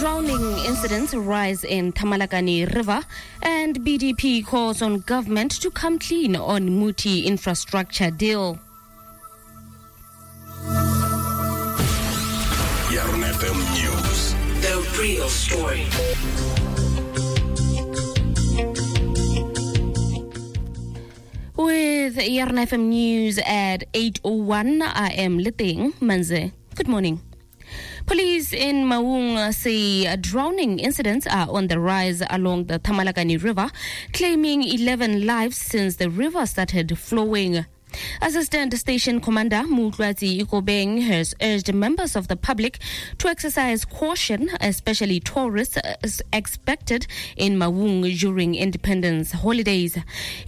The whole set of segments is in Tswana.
Drowning incidents rise in Thamalakane River and BDP calls on government to come clean on Muti infrastructure deal. Yarona FM News. The real story. With Yarona FM News at 8:01, I am Liting Manze. Good morning. Police in Maung say drowning incidents are on the rise along the Thamalakane River, claiming 11 lives since the river started flowing. Assistant Station Commander Mutlatsi Ikobeng has urged members of the public to exercise caution, especially tourists expected in Maung during independence holidays.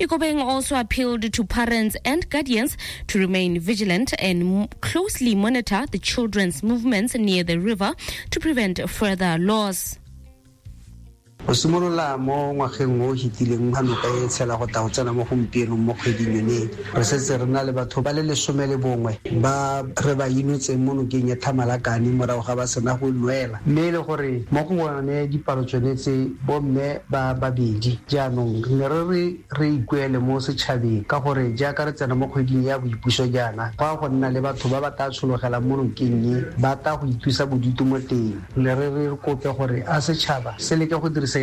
Ikobeng also appealed to parents and guardians to remain vigilant and closely monitor the children's movements near the river to prevent further loss. Go simolola mo ngwageng o hitileng ga noka e tshela go tla go tsena mo gompienong mo kgweding yone, re setse re na le batho ba le 11 ba re ba inotseng mo nokeng ya Thamalakane morago ga ba sena go nwela, mme e le gore mo go bone dipalo tsone tse bomme ba babedi. Jaanong ne re ikuele mo setšhabeng ka gore jaaka re tsena mo kgweding ya boipuso jaana, go a go nna le batho ba ba tla tshologelang mo nokeng e ba tla go ithusa bodutu mo teng. Ne re kope gore a setšhaba se leke go dirisa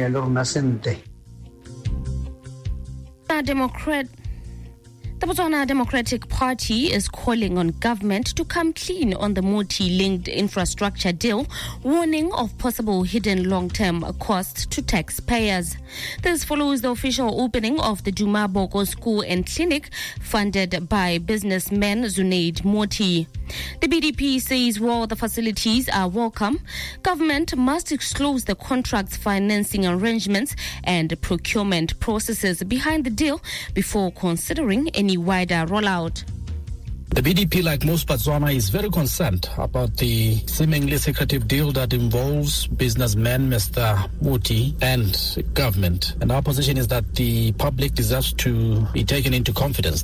The Botswana Democratic Party is calling on government to come clean on the Moti-linked infrastructure deal, warning of possible hidden long-term costs to taxpayers. This follows the official opening of the Duma Boko School and Clinic, funded by businessman Zunaid Moti. The BDP says while the facilities are welcome, government must disclose the contract's financing arrangements and procurement processes behind the deal before considering any wider rollout. The BDP, like most Botswana, is very concerned about the seemingly secretive deal that involves businessman Mr. Moti and government. And our position is that the public deserves to be taken into confidence.